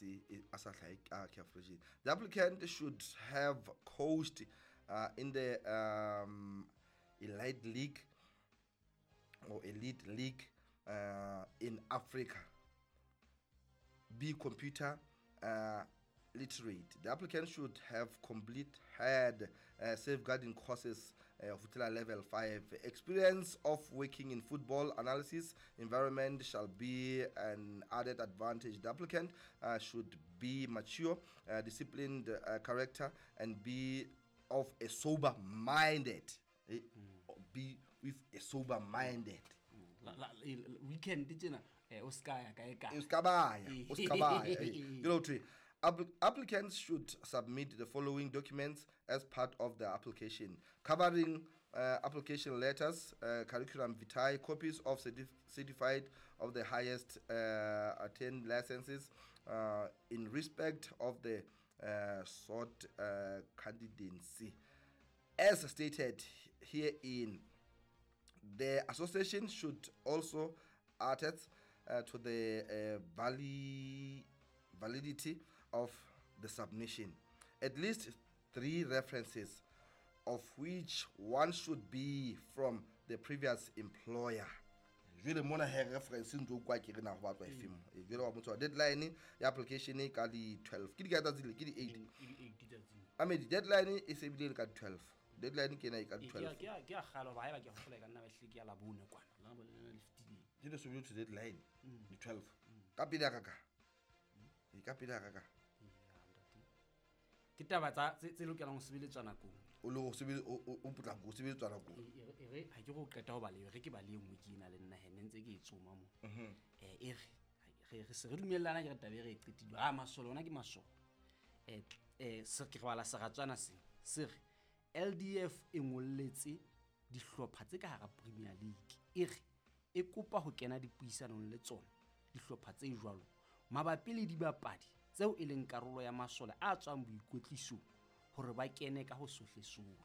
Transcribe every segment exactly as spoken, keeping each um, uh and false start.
se a sa hlahe ka CAF region. The applicant should have coached uh, in the um, elite league or elite league uh, in Africa. Be computer uh, literate. The applicant should have complete had uh, safeguarding courses uh, of level five. Experience of working in football analysis environment shall be an added advantage. The applicant uh, should be mature, uh, disciplined uh, character, and be of a sober minded. Eh, mm. Be with a sober minded. Weekend tjena o ska ya kae kae. O ska ba ya, o ska ba ya. You know, applicants should submit the following documents as part of the application, covering uh, application letters, uh, curriculum vitae, copies of certif- certified of the highest uh, attained licenses uh, in respect of the uh, sought uh, candidacy. As stated herein, the association should also attest uh, to the uh, vali- validity of the submission. At least three references, of which one should be from the previous employer. Jwale mona he reference ntse o kwa ke re na ho batlwa e feng. Jwale wa motho deadline ya application ka di twelve. Ke di ka tsatsi le ke di eight. I mean deadline e se bile le ka twelve. Deadline ke ena e ka twelve. Ke a ke a kgalo ba haeba ke hopola ka nna ba hle ke ya labone kwana. La bona le fifteen. Ke le so bile deadline di twelve. Ka pele ya ka ka. E ka pele ya ka ka. Ke taba tsa tse lokelang ho sebeletswa nakong. O le ho sebele o potlako ho sebeletswa nakong. E re ha ke go qeta ho ba le re ke ba le nngwe ke ena le nna he ne ntse ke e tsoma mo. Eh e re re re se re dumellana ke re taba e re e qetile. Ah masole ona ke masole. Eh eh se ke re bala seratswana se. Se re L D F e ngolletse dihlopha tse ka hara Premier League. E re e kopa ho kena dipuisanong le tsona dihlopha tse jwalo mabapi le dibapadi tseo e leng karolo ya masole a tswang boikwetlisong hore ba kene ka ho sohle sohle.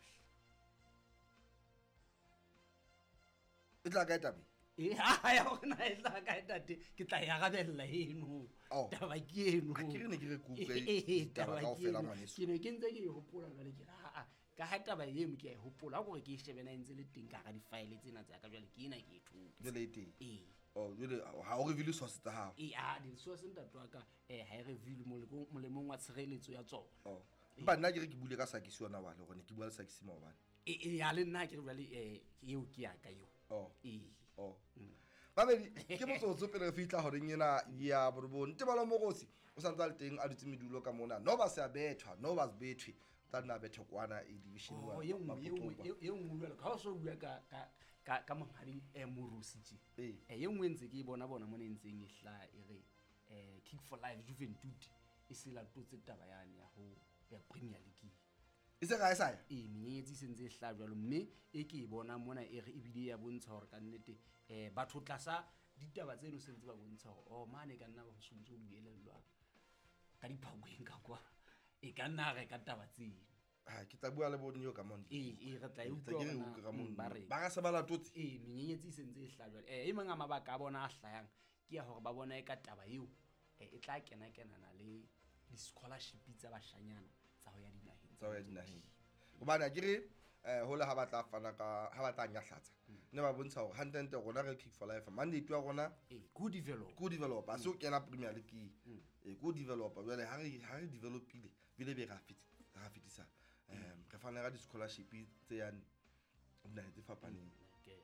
E tla kae taba? E ha ya hore na e tla kae tate, ke tla e arabella eno. Taba ke eno. Ha ke re ne ke re ke utlwe ditaba kaofela ngwaneso. Ke ne ke ntse ke e hopola jwale ke re ha ka ha taba eno ke a e hopola hore ke e shebe na ntse le teng ka hara di-file tsena tsa ka jwale ke ena ke e thotse. Jwale e teng. Ee. Oh, jwale ha o reveal source tsa hao. Ee, ah di-source ntate wa ka eh ha e reveal molemong wa tshireletso ya tsona. Oh. Empa nna ke re ke bule ka Sakisi yona wale hore ne ke bua le Sakisi maobane. E e ya le nna ke re jwale eh eo ke ya ka eo. Oh. Ee. Oh. Babedi ke motsotso pele re fihla horeng ena ya borobong. Tebalo Mogosi o santse a le teng a dutse medulo ka mona. No ba se a bethwa, no ba se bethwe. Tla nna bethe kwana e division one. Oh, ye nngwe ye nngwe jwalo ka ha o so bua ka ka ka ka monghadi eh Morusi tje. Eh ye nngwe ntse ke e bona bona mona e ntseng e hlaha e re eh Kick for Life Juventud e se latotse taba yane ya ho ya Premier League. E se ga e sa ya? Ee, menyenyetsi e sentse e hlaha jwalo mme e ke e bona mona e re ebile ya bontsha hore ka nnete eh batho tlasa ditaba tseno sentse ba bontsha hore oh mane ka nna ba ho sontse ho buelellwa ka diphakweng ka kwa. E ka nna re ka taba tseno. Ha ke tla bua le bo Neo ka mona. Ee, ee re tla e utlwa hore na ba re. Ba ga se ba latotse. Ee, menyenyetsi e sentse e hlaha jwalo. Eh e mang a mabaka a bona a hlayang ke ya hore ba bona e ka taba eo e tla kena kenana le di-scholarship tsa bashanyana tsa ho ya dinaheng. Tsa ho ya dinaheng. Hobane ha ke re eh hole ha ba tla fana ka ha ba tla nyahlatsa. Ne ba bontsha hore hantle rona re Kick for Life mandate wa rona ee go develop. Go develop a se o kena Premier League. Ee go develop jwale ha re ha re developile bile be ra fit ra fitisa um re fana ka di-scholarship tse yang dinaheng tse fapaneng. Okay.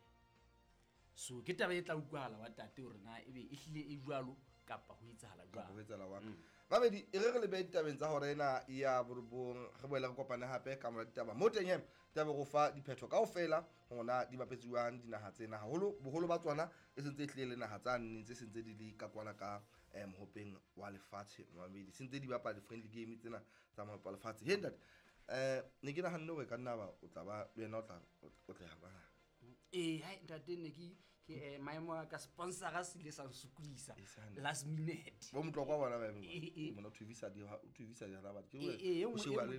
So ke taba e tla utlwahala wa tate hore na ebe e hlile e jwalo kapa ho etsahala jwang. Kapa ho etsahala jwang. Babedi e re re lebe ditabeng tsa hora ena ya borobong re boele re kopane hape ka mora ditaba. Mo teng he taba go fa diphetho kaofela hona di bapetsiwang dinaha tsena haholo boholo ba tsona e sentse e hlile le naha tsa nne tse sentse di le ka kwana ka eh mohopeng wa lefatshe mabedi sentse di bapala di-friendly game tsena tsa mohope wa lefatshe. He ntate eh ne ke nahanne hore ka nna ba o tla ba le wena o tla o tla ya ba. Eh hai ntate ne ke ke maemo a ka sponsor a se ile sa nsukulisa last minute. Bo motlo kwa bona ba mona o thuvisa di o thuvisa di ba ke o sheba le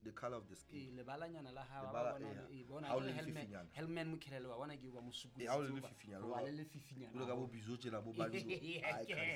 the color of the skin. Eh lebalanyana la ha ba bona e bona Helman Helman Mokhelele wa bona ke ba mosukulisa. Eh ha o le lefifinyana. Wa le lefifinyana. O le ka bo bizo tjena bo banjo.